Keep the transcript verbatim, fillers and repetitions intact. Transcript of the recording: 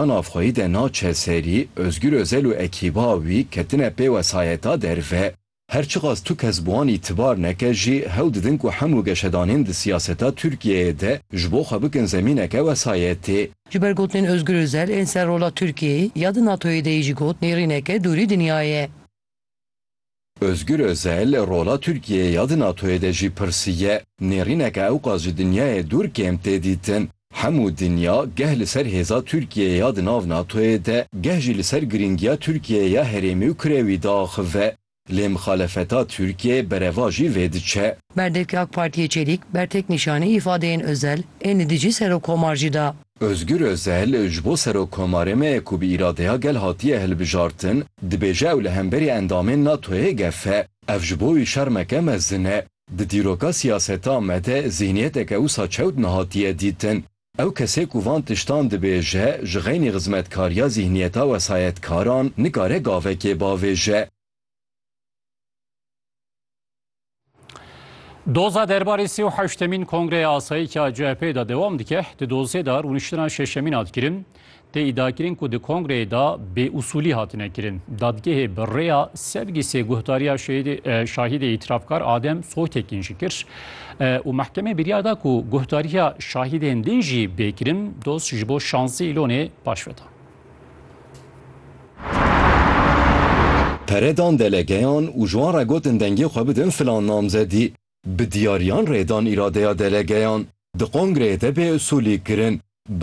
navxweyî de naçe serî, Ozgur Ozel û ekîba wî ketine pê wesayeta derve. Her çiqas tu kes bi wan îtibar neke jî, hewl didin ku hemû geşedanên di siyaseta Tirkiyeyê de ji bo xwe bikin zemîneke wesayetê. Ji ber gotinên Ozgur Ozel, ên ser rola Tirkiyeyê ya di NATOyê de yî jî got, nêrîneke dûrî dinyayê ye. Ozgur Ozel rola Tirkiyeyê ya di NATOyê de jî pirsiye. Nêrîneke ewqas ji dinyayê dûr kêm tê dîtin. Hemû dinya geh li ser hêza Tirkiyeyê ya di nav NATOyê de, geh jî li ser girîngiya Tirkiyeyê ya herêmî û kurewî diaxive. Lê mixalefeta Tirkiyeyê berevajî vê diçe. Berdevkê AK Partiyê Çelîk, bertek nîşanî îfadeyên Ozel ên li dijî Serokkomar jî da. Ozgur Ozel ji bo Serokkomarê me ye ku bi îradeya gel hatiye hilbijartin, dibêje ew li hemberî endamên NATOyê gef e. Ev ji bo wî şermeke mezin e. Di dîroka siyaseta me de zîhniyeteke wisa çewt nehatiye dîtin. Ew kesê ku van tiştan dibêje, ji xeynî xizmetkariya zîhniyeta wesayetkaran nikare gavekê bavêje. Doza derbarê sê û heştemîn Kongreya Asayî ya C H P'ê de dewam dike. Di dozê de rûniştina şeşemîn hat kirin. Tê îdiakirin ku di kongreyê de bêusûlî hatine kirin. Dadgehê bi rêya sergîsê guhdariya şehîdê, e, şahîdê îtirafkar Adem Soytekin jî kir. E, û mehkemê biryar da ku guhdariya şahîdên din jî bê kirin. Doz ji bo şazdeh Îlonê paşve da. Pere dan delegeyan û ji wan re gotin dengê xwe bidin filan namzedî. Bi diyariyan rê dan îradeya delegeyan. Di kongreyê de bêusûlî kirin.